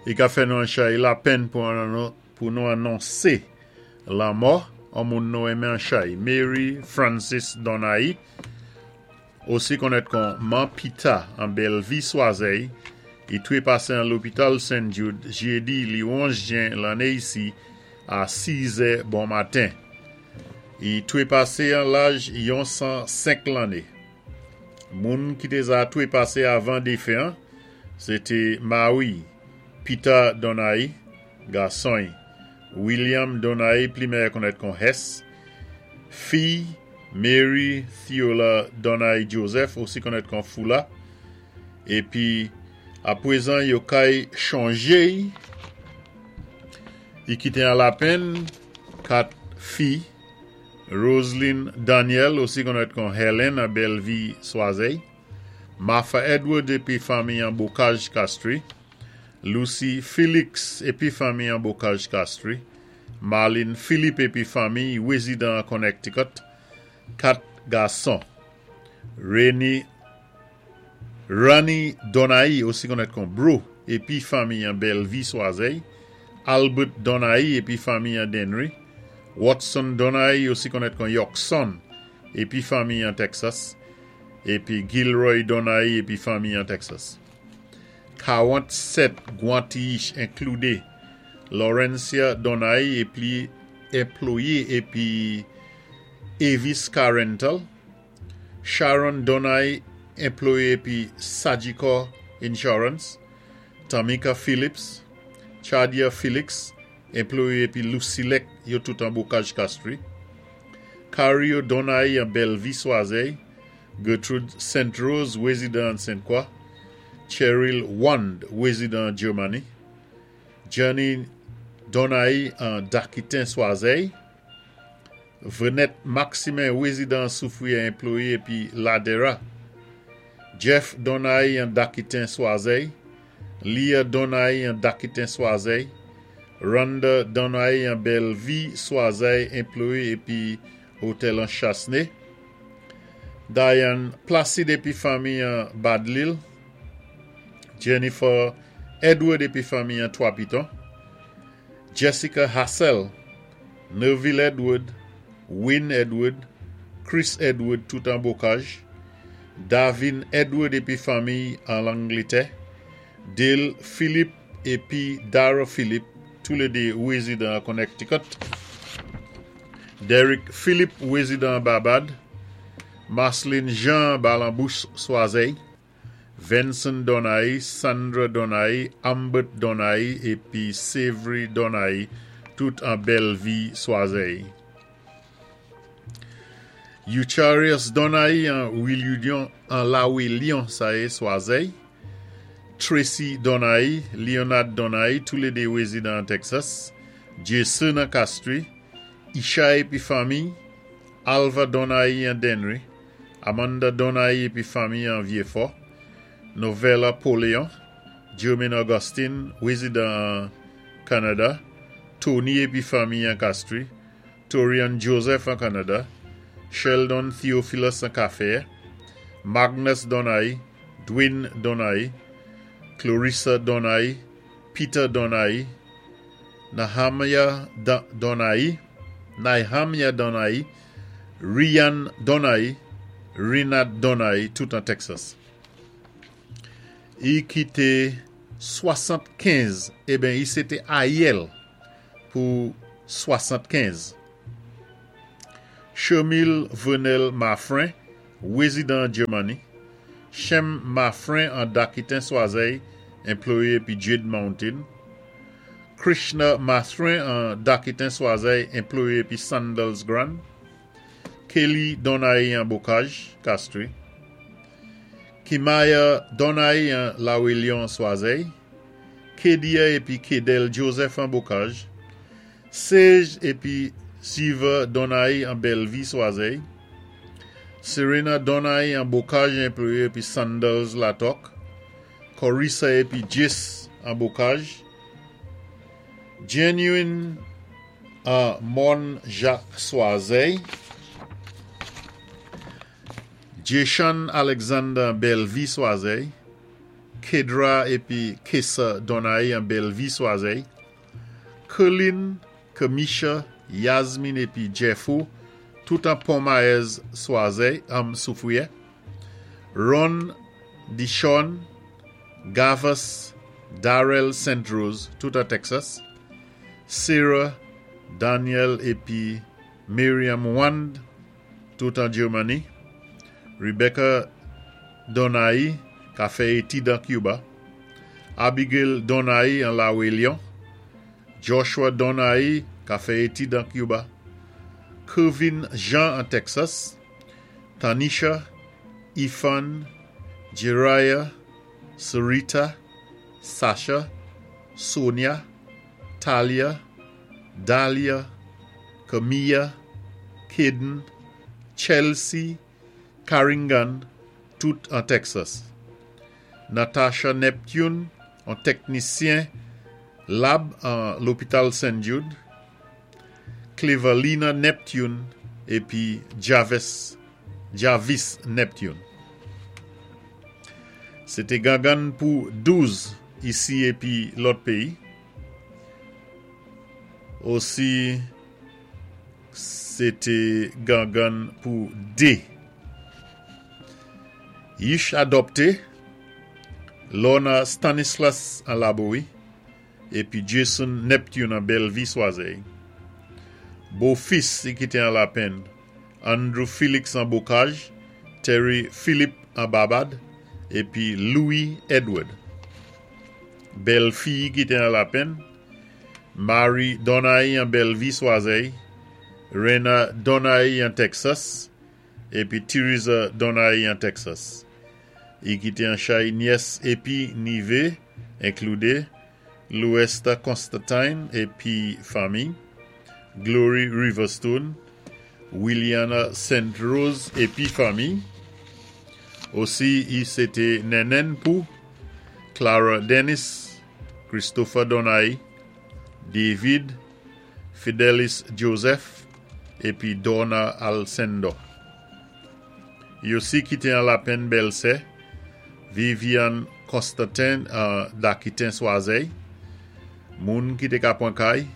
I ka fè nou an chay lapenn pou nou anonsé lanmò an moun nou enmen an chay, Mary Francis Donai, osi konnèt kon Man Pita an Bèlvi Swazèy, i twépasé an lopital St. Jude jédi li 11 jen lanné isi a 6 zè bon maten. I twépasé an laj yon 105 lanné. Moun ki té za twépasé avan défen an, sé té mari Peter Donai, gason-y William Donai, pli mèyè konnèt kon Hess, fiy Mary Theola Donai Joseph, osi konnèt kon Foula, épi apwézan yo kay chonjé-y. I kité an lapenn kat fi: Roseline Daniel, osi konnèt kon Helen, an Bèlvi Swazèy, Martha Edward épi fanmi an Bocage Castries, Lucy Felix épi fanmi an Bocage Castries, Marlene Philippe épi fanmi wézidan an Connecticut, kat gason: Rainy Ronnie Donai, osi konnèt kon Bro, épi fanmi an Bèlvi Swazèy, Albert Donai épi fanmi an Dennery, Watson Donai, osi konnèt kon Yorkson, épi fanmi an Texas, épi Gilroy Donai épi fanmi an Texas. 47 gwanti inkloudé Laurencia Donai épi enployé épi Avis Car Rental, Sharon Donai, enployé épi Sagicor Insurance, Tamika Phillips, Chadia Felix, enployé épi Lucilec, yo tout an Bocage Castries, Cario Donai an Bellevue Swazey, Gertrude St. Rose, wézidan Sainte-Croix, Cheryl Wand, wézidan Germany, Johnny Donai an Dakitin Swazey, Venette Maximin, wézidan Soufrière, enployé épi Ladera, Jeff Donai an Dakitin Swazey, Leah Donai an Dakitin Swazey, Rhonda Donai an Bellevue Swazey, enployé épi Hôtel an Chasnay, Diane Placide épi fanmi an Badlil, Jennifer Edward épi fanmi an Trois Pitons, Jessica Hassel, Neville Edward, Wynne Edward, Chris Edward, tout an Bocage, Davin Edward épi fanmi an Langlétè, Dale Philippe épi Dara Philippe, toulédé wézidan Connecticut, Derek Philippe, wézidan Barbade, Marceline Jean Balambouche Swazey, Vincent Donai, Sandra Donai, Ambert Donai épi Savory Donai, tout an Bellevue Swazey. Eucharius Donai an Willion an Lawillion sa yé Swazey, Tracy Donai, Leonard Donai, toulédé wézidan Texas, Jason an Castries, Isha épi fanmi, Alva Donai an Dennery, Amanda Donai épi fanmi an Vieux-Fort, Novella Poléon, Jermaine Augustine, wézidan Canada, Tony épi fanmi an Castries, Torian Joseph an Canada, Sheldon Theophilus an Café, Magnus Donai, Dwayne Donai, Clarissa Donai, Peter Donai, Nahamia Donai, Nahamia Donai, Ryan Donai, Rinat Donai, tout an Texas. I kité 75, eben i sé té ayèl pou 75. Chemil Venel Mafrin, wézidan Germany, Shem Mafrin an Dakitin Swazey, enployé épi Jade Mountain, Krishna Mafrin an Dakitin Swazey, enployé épi Sandals Grand, Kelly Donai an Bocage, Castries, Kimaya Donai an Lawillion Swazey, Kedia épi Kedel Joseph an Bocage, Sage épi Siva Donai an Bellevue Swazey, Serena Donai an Bocage, enployé épi Sandals Latok, Corissa épi Jis an Bocage, Genuine an Mon Jacques Swazey, Jason Alexander Bellevue Swazey, Kedra épi Kesa Donaï an Bellevue Swazey, Kerlin, Kemisha, Yasmine épi Jeffo, tout an Pont-Maez Swazey, Soufrière, Ron Dishon, Gavas, Darrell St. Rose, tout an Texas, Sarah, Daniel épi Miriam Wand, tout an Germany, Rebecca Donaï, ka fè étid an Cuba, Abigail Donaï an La Réunion, Joshua Donaï, ka fè étid an Cuba, Kevin Jean an Texas, Tanisha, Ifan, Jiraiya, Sarita, Sasha, Sonia, Talia, Dahlia, Camilla, Caden, Chelsea, Carringan, tout an Texas. Natasha Neptune, an teknisyen lab an lopital St. Jude, Clevalina Neptune épi Javis, Javis Neptune. Sé té gangann pou 12 isi épi lòt péyi. Osi sé té gangann pou 2. Yich adòpté Lorna Stanislas an Labowi épi Jason Neptune an Bellevue Swazey. Bofis i kité an Lapenn, Andrew Felix an Bocage, Terry Philippe an Barbade épi Louis Edward. Bèlfi i kité an Lapenn, Marie Donaï an Bellevue Swazey, Rena Donaï an Texas épi Teresa Donaï an Texas. I kité an chay nyès épi nivé inkloudé Louesta Constantine épi fanmi, Glory Riverstone, Williana St. Rose épi fanmi. Osi i sé té nènèn pou Clara Dennis, Christopher Donaï, David, Fidelis Joseph épi Donna Alcendo. I osi kité an Lapenn bèlsè, Vivian Constantin an Dakitin Swazey, moun ki té ka pwan kay,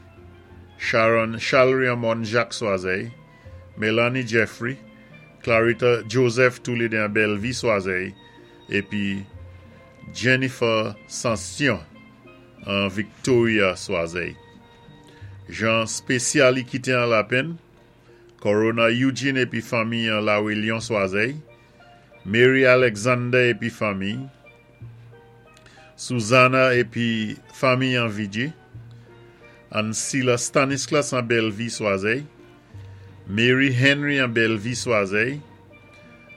Sharon Chalry an Mòn Jacques Swazey, Melanie Jeffrey, Clarita Joseph toulédé an Bellevue Swazey, épi Jennifer Sansion an Victoria Swazey. Jan spésyal i kité an Lapenn, Corona Eugene épi fanmi an La Réunion Swazey, Mary Alexander épi fanmi, Susanna épi fanmi an Vigi, Ansila Stanislas an Bellevue Swazey, Mary Henry an Bellevue Swazey,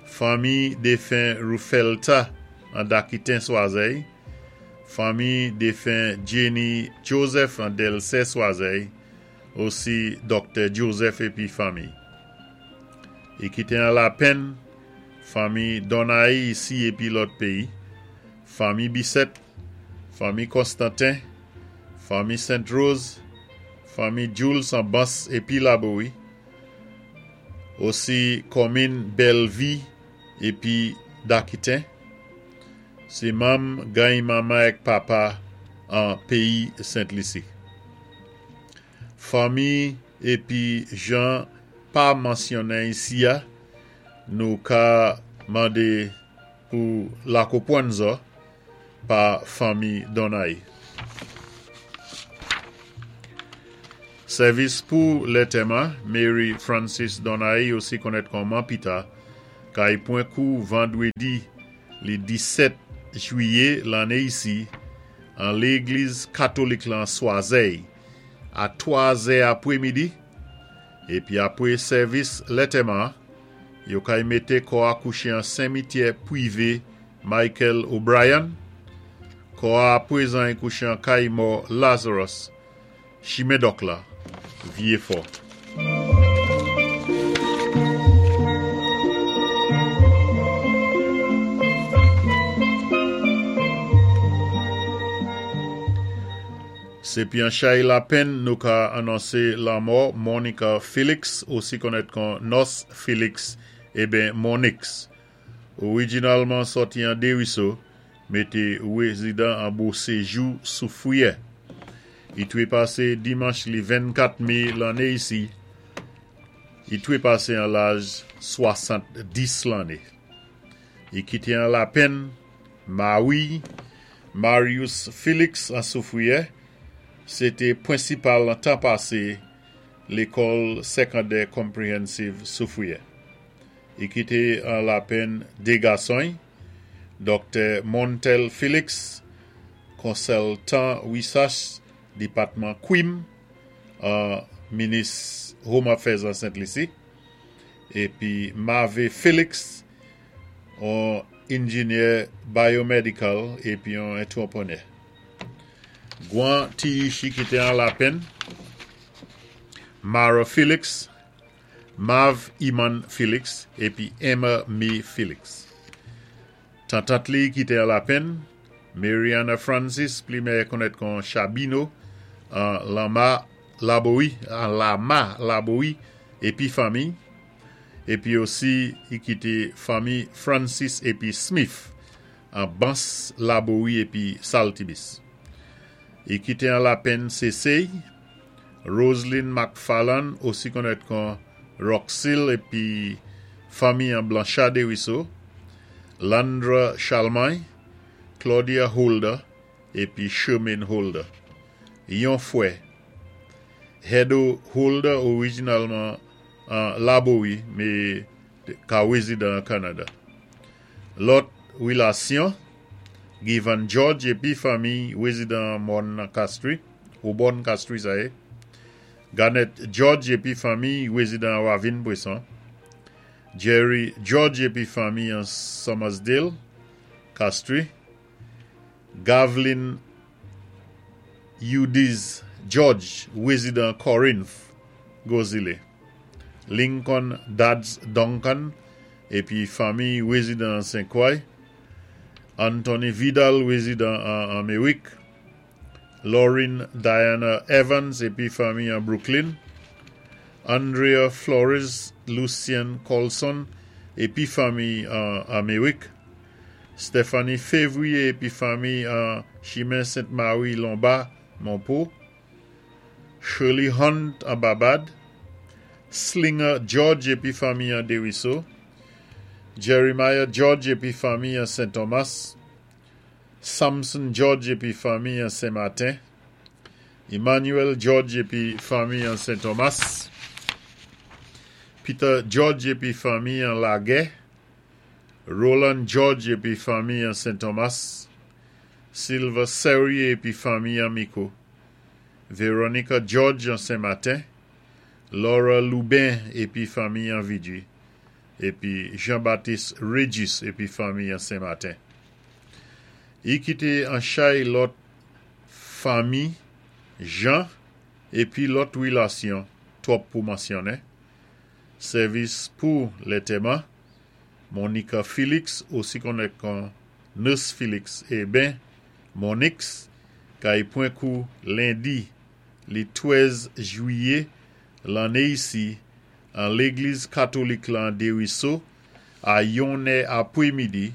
fanmi défen Rufelta an Dakitin Swazey, fanmi défen Jenny Joseph an Delsey Swazey, osi Doktè Joseph épi fanmi. I kité an Lapenn, fanmi Donaï isi épi lòt péyi, fanmi Bisset, fanmi Constantin, fanmi Sainte Rose, fanmi Jules an Bans épi Labowi, osi kòmin Bellevue épi Dakiten. Sé manm gany manman èk papa an péyi Sent Lisi. Fanmi épi jan pa mansyonnen isi a, nou ka mandé pou lakopwann zò pa fanmi Donaï. Sèvis pou lètèman, Mary Francis Donaï osi konnèt kon Man Pita, kay pwan kou vandwédi li 17 jwiyé lanné isi an légliz katolik lan Swazey a 3 zè apwémidi épi apwé sèvis lètèman yo kay mété kò a kouché an senmityè pwivé Michael O'Brien. Kò a apwézan i kouché an kay mò Lazarus Chimen Dòk la, Vyé Fò. Sé pi an chay lapenn nou ka anonsé lanmò Monica Felix osi konnèt kon Nòs Felix eben Monix. Orijinalman sòti an Deriso. Mé té wézidan an Bo Séjou Soufwiyè. I twé pasé dimanch li 24 mé lanné isi. I twé pasé an laj 70 lanné. I kité an lapenn mawi'y, Marius Félix an Soufwiyè, sé té pwensipal an tan pasé lékòl sékondè Comprehensive Soufwiyè. I kité an lapenn dé gason'y, Doktè Montel Félix, konsiltan wisach dipatman Kwim an Minis Home Affairs an Sent Lisi, épi Mave Félix, on engineer biomedical épi on antweprenè. Gwan ti ishi kité an lapenn, Mara Félix, Mav Iman Félix épi Emma May Félix. Tantant li kité an lapenn, Mariana Francis, pli mèyè konnèt kon Chabino, an Lama Labowi, an Lama Labowi épi fanmi, épi osi i kité fanmi Francis épi Smith an Bans Labowi épi Saltibis. I kité an lapenn sésé'y, Roseline McFarland, osi konnèt kon Roxil épi fanmi an Blanchard Desruisseaux, Landra Chalmagne, Claudia Holder épi Shermaine Holder. Yon fwè, Hedo Holder orijinalman an Labowi, mé ka wézidan an Kanada. Lòt wilasyon, Givan George épi fanmi wézidan an Mòn Castries, Obòn Castries sa yé, Garnett George épi fanmi wézidan an Ravin Bresson, Jerry George épi fanmi an Summersdale, Castries, Gavlin Eudiz George, wézidan Corinth, Gozilé, Lincoln Dads Duncan épi fanmi wézidan an Saint-Croix, Anthony Vidal, wézidan an Améwik, Lauren Diana Evans épi fanmi an Brooklyn, Andrea Flores, Lucien Colson épi fanmi an Améwik, Stephanie Février épi fanmi an Chimen Sainte-Marie Lomba, Monpo, Shirley Hunt an Babad, Slinger George épi fanmi an Desruisseaux, Jeremiah George épi fanmi an Saint Thomas, Samson George épi fanmi an Saint-Martin, Emmanuel George épi fanmi an Saint Thomas, Peter George épi fanmi an Laguerre, Roland George épi fanmi an Saint Thomas, Silva Serrier épi fanmi an Miko, Veronica George an Saint-Martin, Laura Lubin épi fanmi an Vidjui, épi Jean-Baptiste Regis épi fanmi an Saint-Martin. I kité an chay lòt fanmi Jean épi lòt wilasyon twòp pou mansyonnen. Sèvis pou lantèman, Monica Félix, osi konnèt kon Nurse Félix é ben Monix, kay pwan kou lendi li 13 jwiyé lanné isi an légliz katolik lan Desruisseaux a yon è apwé midi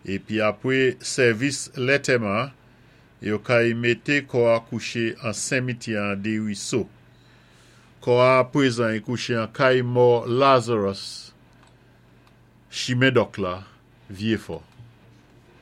épi apwé sèvis lantèman yo kay mété kò a kouché an sémityè an Desruisseaux. Kò a pwézan i kouché an kay mò Lazarus, Chimen Dòk la, Vyéfò.